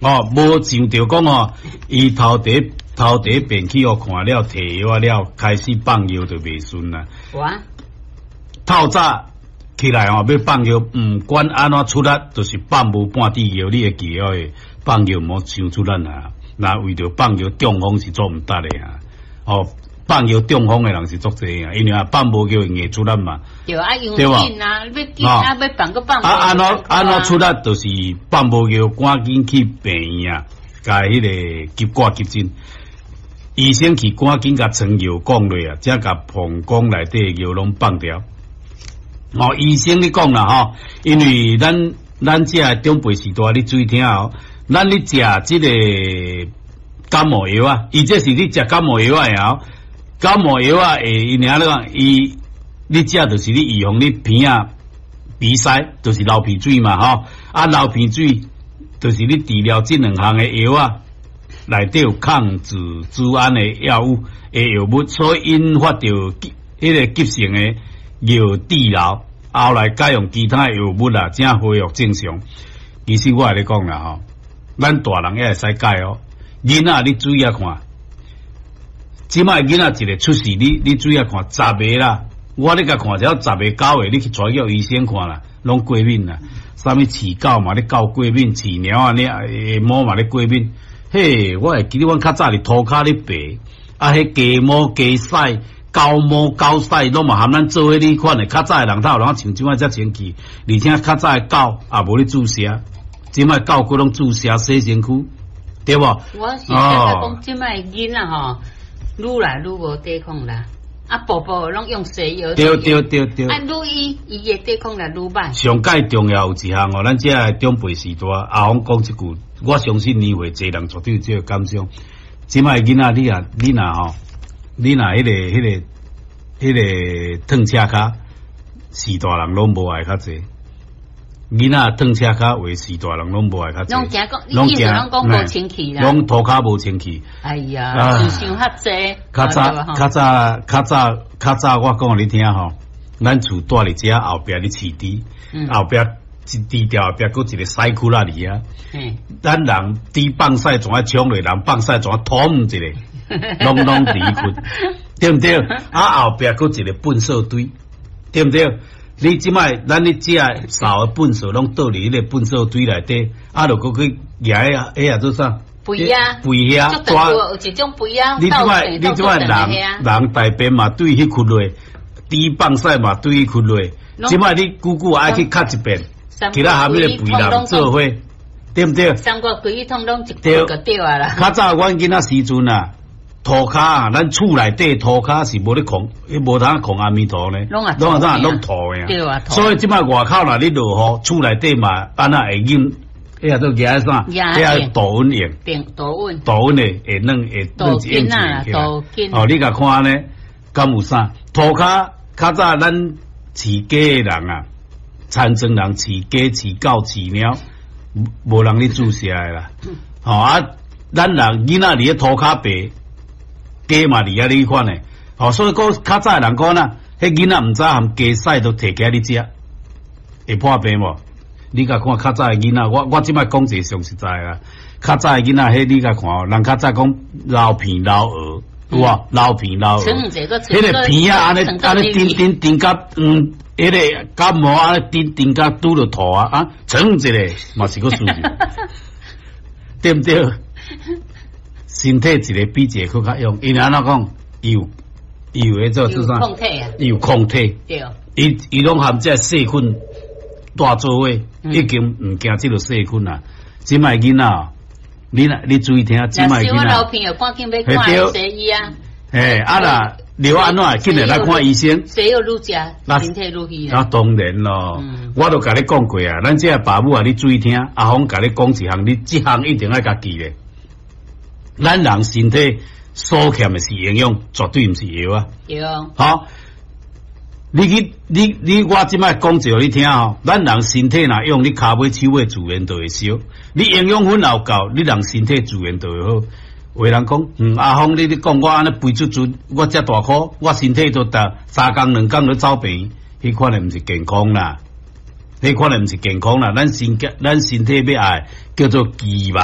哦，無想著講哦，伊頭第一頭第一遍去予看了，提藥仔了，開始放藥就袂順啦。哇！透早起來吼，欲放尿，毋管按怎出力，就是放無半滴尿，你會記得放尿毋好傷出力啊！若為著放尿中風是足毋值的啊！哦，放尿中風的人是足濟啊，因為啊放無尿會硬出力嘛。對啊，用緊啊，欲緊啊，欲放閣放。啊，按怎按怎出力，就是放無尿，趕緊去病院啊，共彼个急掛急診。醫生去趕緊共床尿降落啊，才共膀胱內底尿攏放掉。哦，醫生咧講啦吼，因為咱咱這个長輩時代，你注意聽哦，咱咧食這个感冒藥啊，伊這是咧食感冒藥仔的哦，感冒藥仔會因為按怎講，伊你食就是咧預防你鼻仔鼻塞，就是流鼻水嘛吼，啊流鼻水就是你治療這兩項的藥仔內底有抗組織胺的藥物的藥物，所以引發著彼个急性的尿潴留，後來改用其他藥物啦，才恢復正常。其實我共你講啦吼，咱大人也會使改哦。囡仔你注意仔看，這擺囡仔一个出世，你你注意仔看，十个啦，我咧共看只要十个九个，你去帶叫醫生看啦，攏過敏啦。啥物飼狗嘛咧狗過敏，飼貓仔咧貓嘛咧過敏。嘿，我會記得阮較早佇塗跤咧爬，啊，彼雞毛雞屎。狗毛狗屎攏嘛含咱做伙呢款的，較早的人頭人像這擺遮清氣，而且較早的狗也無咧注射，這擺狗閣攏注射洗身軀，對無？我是感覺講這擺囡仔吼，愈來愈無抵抗力，啊，步步攏用西藥。對對對對。啊，愈醫伊的抵抗力愈歹。上蓋重要有一項哦，咱這个長輩時代，阿峰講這句，我相信年歲濟人絕對有這个感想。這擺囡仔你若你若吼。你若彼个彼个彼个褪車跤，序大人攏無愛較濟。囡仔褪車跤話，序大人攏無愛較濟。攏驚講，攏驚講無清氣啦。攏塗跤無清氣。哎呀，想想較濟。較早較早較早較早，我講予你聽吼，咱厝蹛佇遮後壁咧飼豬，後壁一豬後壁閣一个屎窟仔佇遐。咱人豬放屎怎啊衝落，人放屎怎啊通一个。攏攏佇彼窟，對毋對？啊，後壁閣一个糞掃堆，對毋對？你這擺咱咧食掃的糞掃攏倒佇彼个糞掃堆內底，啊，著閣去舉彼彼個做啥？肥仔，肥仔，有一種肥仔。你這擺你這擺人人大便嘛對彼窟落，豬放屎嘛對彼窟落，這擺你久久愛去擦一遍，其他含彼个肥人做伙，對毋對？三國規通攏一窟就對啊啦。較早阮囡仔時陣啊。塗跤啊，咱厝內底塗跤是無咧控，彼無通控阿彌陀呢，攏啊啥攏塗的啊。所以這擺外口若咧落雨，厝內底嘛按怎會淹？彼個做舉啥？彼個杜穩用，杜穩，杜穩的會軟會軟一軟起來。哦，你共看按呢，敢有啥？塗跤較早咱飼雞的人啊，田莊人飼雞、飼狗、飼貓，無人咧注射的啦。吼啊，咱人囡仔佇咧塗跤爬。雞嘛佇遐呢款的，吼，所以講較早的人講啦，彼囡仔毋知含雞屎都提起來咧食，會破病無？你共看較早的囡仔，我我這擺講一个上實在啦，較早的囡仔，彼你共看哦，人較早講流鼻流喉，有無？流鼻流喉，彼个鼻仔按呢按呢叮叮叮甲嗯，彼个感冒按呢叮叮甲拄著吐啊啊，噌一个嘛是閣輸去，對毋對？身體一个比一个閣較勇，因為按怎講，伊有伊有彼做做啥？伊有抗體，伊伊攏含這細菌蹛做伙，已經毋驚這个細菌啦。這擺囡仔，你若你注意聽，這擺囡仔。流鼻又趕緊欲看西醫啊！嘿，啊若流按怎，緊來來看醫生。西藥愈食，身體愈虛。那當然咯，我都共你講過啊，咱這个爸母啊，你注意聽，阿峰共你講一項，你這項一定愛共記咧。咱人身體所欠的是營養，絕對毋是藥啊！對。好，你去你你我這擺講一予你聽吼，咱人身體若用，你跤尾手尾自然就會燒。你營養分若有夠，你人身體自然就會好。有的人講，嗯，阿峰你咧講我按呢肥嘟嘟，我遮大箍，我身體都逐三工兩工咧走病，彼款的毋是健康啦，彼款的毋是健康啦。咱身咱身體欲愛叫做肌肉。